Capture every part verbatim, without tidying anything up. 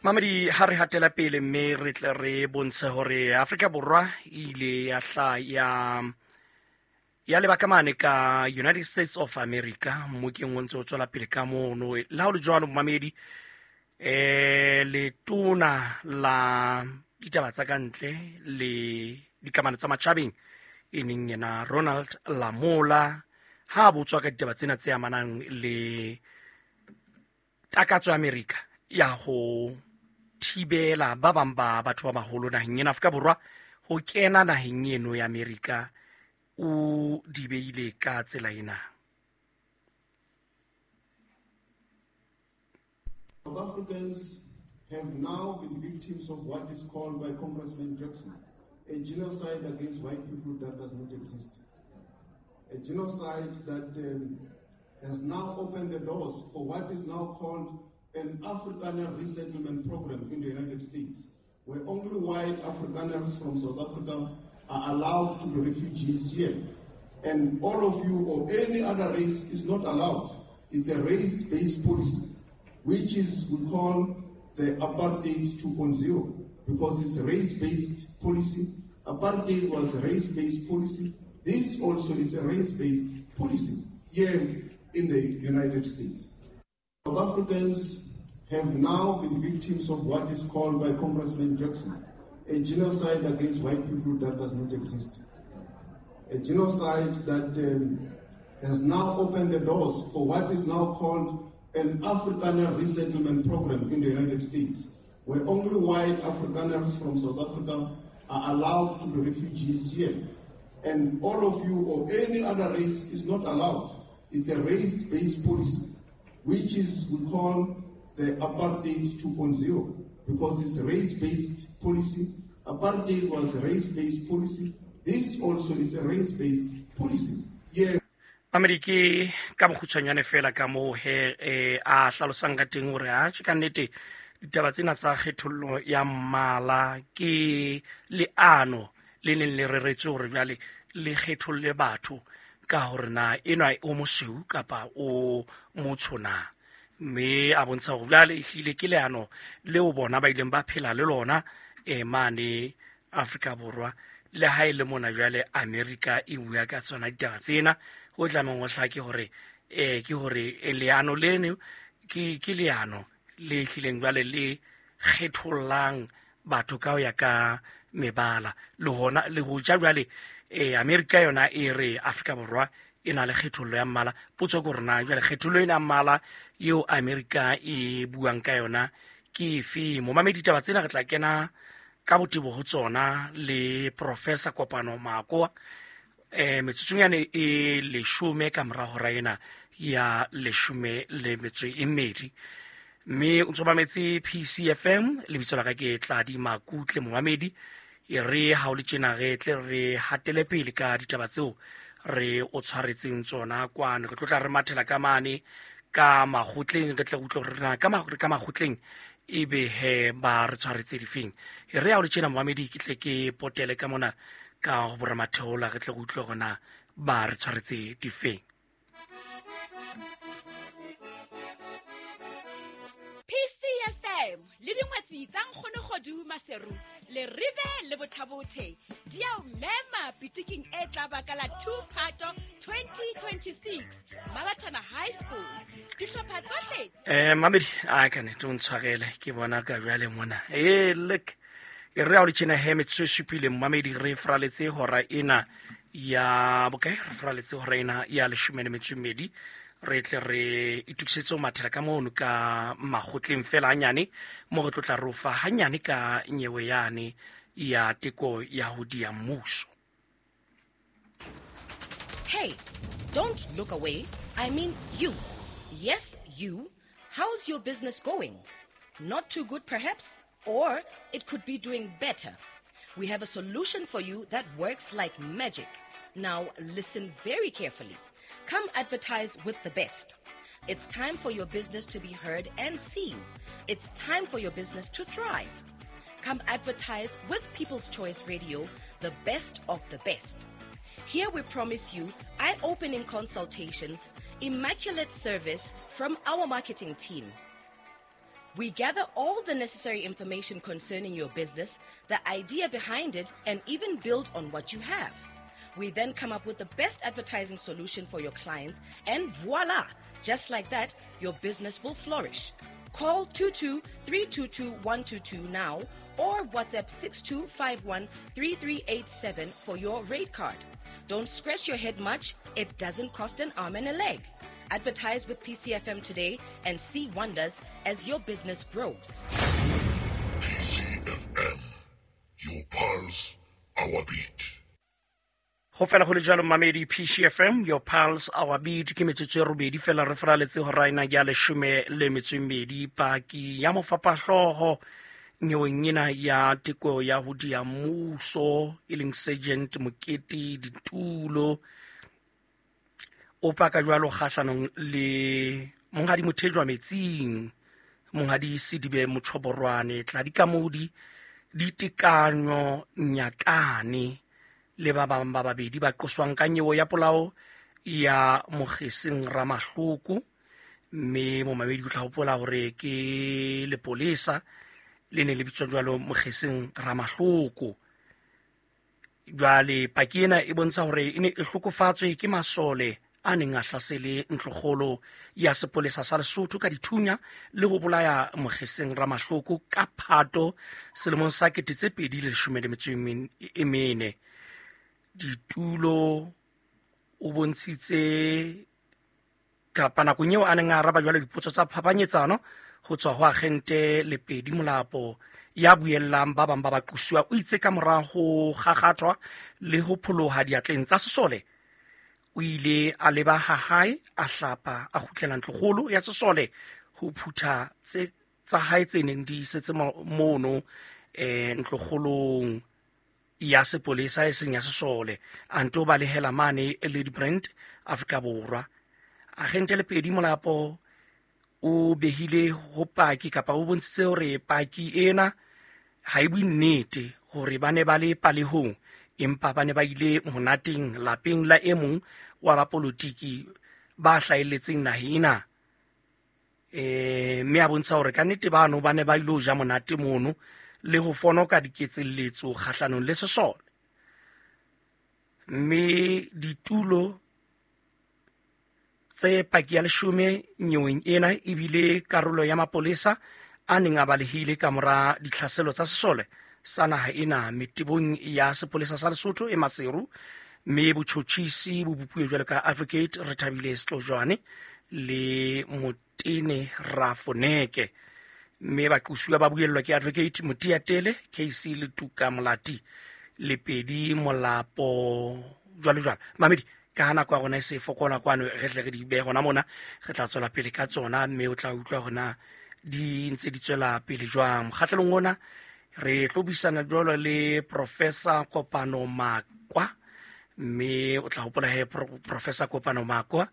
Mamedi, ha re hatela pele mme re tle re bontshe hore Afrika Borwa e ile ya hla ya ya leba ka mane ka United States of America, mmokeng o ntse o tswela pele ka mono. Le ha ho le jwalo, mamedi, eh letona la ditaba tsa ka ntle le dikamano tsa matjhabeng e neng yena Ronald Lamola, ha botswa ka ditaba tsena tse amanang le takatso ya Amerika ya ho thibela ba bang ba batho ba baholo naheng ena Afrika Borwa ho kena naheng eno ya Amerika, o di beile ka tsela ena. South Africans have now been victims of what is called by Congressman Jackson a genocide against white people that does not exist. A genocide that um, has now opened the doors for what is now called an Afrikaner resettlement program in the United States, where only white Afrikaners from South Africa are allowed to be refugees here. And all of you or any other race is not allowed. It's a race-based policy, which is we call the apartheid two point oh, because it's a race-based policy. Apartheid was a race-based policy. This also is a race-based policy here in the United States. South Africans have now been victims of what is called by Congressman Jackson a genocide against white people that does not exist. A genocide that um, has now opened the doors for what is now called an Afrikaner resettlement program in the United States, where only white Afrikaners from South Africa are allowed to be refugees here. And all of you or any other race is not allowed. It's a race-based policy, which is we call the apartheid two point oh, because it's a race-based policy. Apartheid was a race-based policy. This also is a race-based policy. Yeah. Amerike ka bokgutshwanyane fela ka moo he eh, a hlalosang ka teng hore a tjhe ka nnete ditaba tsena tsa kgethollo ya mmala ke leano le neng le reretswe hore jwale le kgetholle batho ka hore na enwa o mosweu kapa o motsho na. Mme a bontsha hore jwale ehlile ke leano leo bona ba ileng ba phela le lona eh, mane Afrika Borwa, le ha e le mona jwale Amerika e bua ka tsona ditaba tsena. Ho tlamehang ho hlake hore eh ke hore leano leno ke ke leano le hlileng jwale le kgethollang batho ka ho ya ka mebala. Le hona le ho ja jwale eh Amerika yona e re Afrika Borwa e na le kgethollo ya mmala. Potso ke hore na jwale kgethollo ena ya mmala eo Amerika e buang ka yona ke efe? Momamedi, ditaba tsena re tla kena ka botebo ho tsona le Professor Kopano Makoa eh metsotsonyane e leshome ka mora hora ena ya leshome le metso e mmedi. Mme o ntso mametse P C F M, lebitso la ka ke Tladi Makutle. Momamedi, e re ha o le tjena re tle re hatele pele ka ditaba tseo re o tshwaretseng tsona kwano. Re tlotla re mathela ka mane ka makgotleng, re tle re utlwe hore na ka ka makgotleng ebe he ba re tshwaretse difeng. E re ha o le tjena momamedi, ke tle ke potele ka mona ka ho boramatheola, re tle re utlwe hore na ba re tshwaretse difeng. P C F M le dingwetsi tsa Nkgono Kgodu Maseru le Rive le Bothabothe di a o mema pitiking e tla ba ka la two Phato twenty twenty-six Mabathana High School. Dihlopha tsohle eh mamedi a ka nete o ntshwarele ke bona ka jwale mona. Eh look, e re ha o le tjena he metsotso e supileng mamedi, re fraletse hora ena ya bokae? Re fraletse hora ena ya leshome le metso e mmedi. Re tle re itokisetse ho mathela ka mono ka makgotleng fela hanyane, mo re tlotla re o fa hanyane ka nyewe yane ya teko ya ho diya mmuso. Hey, don't look away. I mean you. Yes, you. How's your business going? Not too good perhaps? Or it could be doing better. We have a solution for you that works like magic. Now listen very carefully. Come advertise with the best. It's time for your business to be heard and seen. It's time for your business to thrive. Come advertise with People's Choice Radio, the best of the best. Here we promise you eye-opening consultations, immaculate service from our marketing team. We gather all the necessary information concerning your business, the idea behind it, and even build on what you have. We then come up with the best advertising solution for your clients, and voila! Just like that, your business will flourish. Call two two three two two one two two now or WhatsApp six two five one three three eight seven for your rate card. Don't scratch your head much. It doesn't cost an arm and a leg. Advertise with P C F M today and see wonders as your business grows. P C F M, your pulse, our beat. Ho fela ho le jwalo mamedi P C F M, your pulse, our beat. Ke metsotso e robedi fela re fraletse ho raina ya leshome le metso e mmedi. Paki ya mofapahlooho nyeweng ena ya teko ya ho dia mmuso e leng Sergeant Mokete Ditulo o paka jwalo kgahlanong le Monghadi Mothejwa Metsing, Monghadi Sidibe Motjhoborwane, Tladi Kamodi, Ditekanyo Nyakane le ba bang ba babedi ba qoswang ka nyewe ya polao ya Mogeseng Ramahloko. Mme momamedi o tla hopola hore ke lepolesa le ne le bitswa jwalo Mogeseng Ramahloko. Jwale paki ena e bontsha hore e ne e hlokofatswe ke masole a neng a hlasele ntlokgolo ya sepolesa sa Lesotho ka dithunya le ho bolaya Mogeseng Ramahloko ka Phato selemong sa kete tse pedi le leshome le metso e mene. Ditulo o bontshitse kapa nakong eo a neng a araba jwalo dipotso tsa phapanyetsano ho tswa ho agente Lepedi Molapo ya buellang ba bang ba baqosuwa, o itse ka mora ho kgakgathwa le ho pholoha diatleng tsa sesole, o ile a leba ha hae, a hlapa, a kgutlela ntlokgolo ya sesole ho phutha tse tsa hae tse neng di setse mono eh ntlokgolong ya sepolesa e seng ya sesole, a nto balehela mane Lady Brand Afrika Borwa. Agente Lepedi Molapo o behile ho paki kapa o bontshitse hore paki ena ha e bue nnete hore ba ne ba le palehong, empa ba ne ba ile monateng lapeng la e mong wa bapolotiki ba hlahelletseng naheng ena. Eh mme a bontsha hore ka nnete bano ba ne ba ile ho ja monate mono le ho fonoka diketselletso kgahlanong le sesole. Mme ditulo tse paki ya leshome nyeweng ena ebile karolo ya mapolesa a neng a balehile ka mora ditlhaselo tsa sesole sa naha ena metebong ya sepolesa sa Lesotho e Maseru, mme botjhotjhisi bo bopuwe jwalo ka Advocate Rethabile Setlojwane le Motene Rafoneke, mme baqosuwa ba buellwa ke Advocate Motiatele K C Letuka Molati Lepedi Molapo jwalo jwalo. Mamedi, ka nako ya rona e se fokola kwano, re tle re di behe hona mona, re tla tswela pele ka tsona mme o tla utlwa hona di ntse di tswela pele jwang. Mokgahlelong ona re tlo buisana jwalo le Professor Kopano Makwa, mme o tla hopola he Professor Kopano Makwa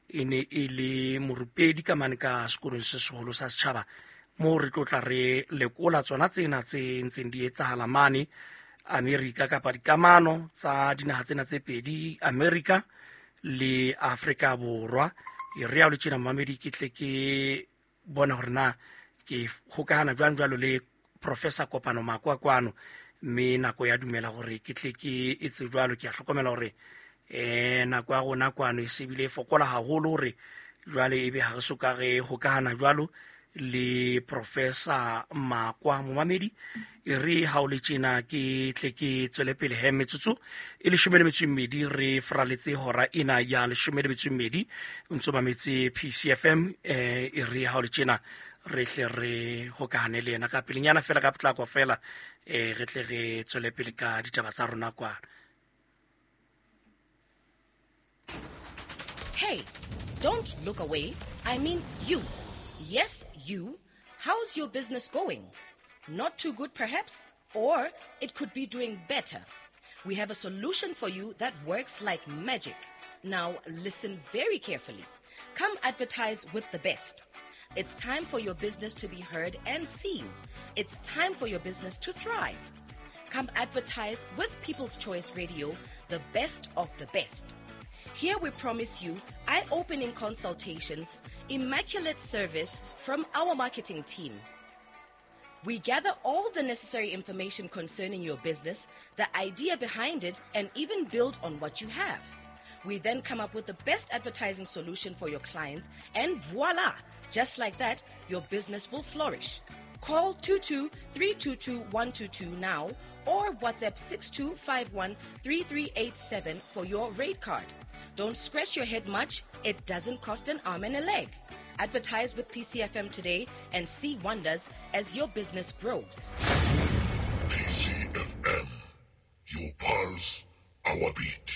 e ne e le morupedi ka mane ka sekolong se seholo sa setjhaba, moo re tlo tla re lekola tsona tsena tse ntseng di etsahala mane Amerika kapa dikamano tsa dinaha tsena tse pedi, Amerika le Afrika Borwa. E re ya le tjena mamedi, ke tle ke bona hore na ke hokahana jwang jwalo le Professor Kopano Makwa kwano, mme nako ya dumela hore ke tle ke etse jwalo. Ke a hlokomela hore eh nako ya rona kwano e se bile fokola haholo hore jwale ebe ha re soka re hokahana jwalo le Professor Makwa. Momamedi, e re ha o le tjena ke tle ke tswele pele he metsotso e leshome le metso e mmedi re fraletse hora ena ya leshome le metso e mmedi, o ntso mametse P C F M. Eh e re ha o le tjena re tle re hokahane le yena ka pelenyana fela ka potlako fela, eh re tle re tswele pele ka ditaba tsa rona kwana. Hey, don't look away. I mean you. Yes, you. How's your business going? Not too good, perhaps, or it could be doing better. We have a solution for you that works like magic. Now, listen very carefully. Come advertise with the best. It's time for your business to be heard and seen. It's time for your business to thrive. Come advertise with People's Choice Radio, the best of the best. Here we promise you eye-opening consultations, immaculate service from our marketing team. We gather all the necessary information concerning your business, the idea behind it, and even build on what you have. We then come up with the best advertising solution for your clients, and voila! Just like that, your business will flourish. Call two two three two two one two two now or WhatsApp six two five one three three eight seven for your rate card. Don't scratch your head much, it doesn't cost an arm and a leg. Advertise with P C F M today and see wonders as your business grows. P C F M, your pulse, our beat.